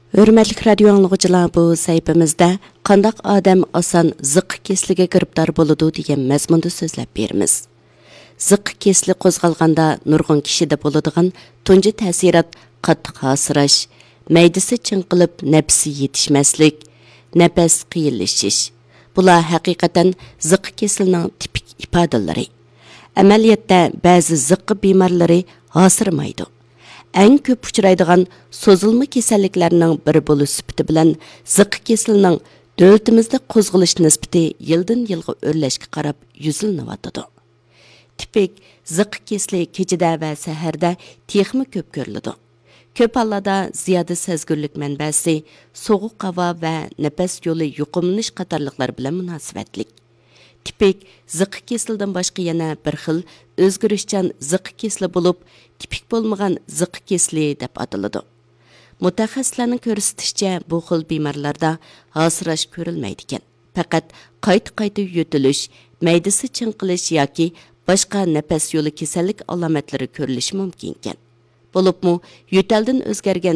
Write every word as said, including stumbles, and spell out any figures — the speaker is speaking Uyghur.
ھۆرمەتلىك رادىيو ئاڭلىغۇچىلار، بۇ سەھىپىمىزدە قانداق ئادەم ئاسان زىققا كېسىلىگە گىرىپتار بولىدۇ دېگەن مەزمۇندا سۆزلەپ بېرىمىز. زىققا كېسىلى قوزغالغاندا نۇرغۇن كىشىدە بولىدىغان تۇنجى تەسىرات قاتتىق ھاسىراش، مەيدىسى چىڭقىلىپ نەپىسى يېتىشمەسلىك، نەپەس قىيىنلىشىش. بۇلار ھەقىقەتەن زىققا كېسىلىنىڭ تىپىك ئىپادىلىرى. ئەمەلىيەتتە بەزى زىققا بىمارلىرى ھاسىرىمايدۇ. ئەڭ كۆپ ئۇچرايدىغان سوزۇلما كېسەللىكلەرنىڭ بىرى بولۇش سۈپىتى بىلەن زىققا كېسىلىنىڭ دۆلىتىمىزدە قوزغىلىش نىسبىتى يىلدىن يىلغا ئۆرلەشكە قاراپ يۈزلىنىۋاتىدۇ. تىپىك زىققا كېسىلى كېچىدە ۋە سەھەردە تېخىمۇ كۆپ كۆرۈلىدۇ. كۆپ ھاللاردا زىيادە سەزگۈرلۈك مەنبەسى سوغۇق ھاۋا ۋە نەپەس يولى يۇقۇملىنىش قاتارلىقلار بىلەن مۇناسىۋەتلىك. تىپىك زىققا كېسىلىدىن باشقا يەنە بىر خىل ئۆزگىرىشچان زىققا كېسىلى بولۇپ، تىپىك بولمىغان زىققا كېسىلى دەپ ئاتىلىدۇ. مۇتەخەسسىسلەرنىڭ كۆرسىتىشىچە، بۇ خىل بىمارلاردا ھاسىراش كۆرۈلمەيدىكەن. پەقەت قايتا-قايتا يۆتىلىش، مەيدىسى چىڭقىلىش ياكى باشقا نەپەس يولى كېسەللىك ئالامەتلىرى كۆرۈلۈشى مۇمكىنكەن. بولۇپمۇ يۆتەلدىن ئۆزگەرگەن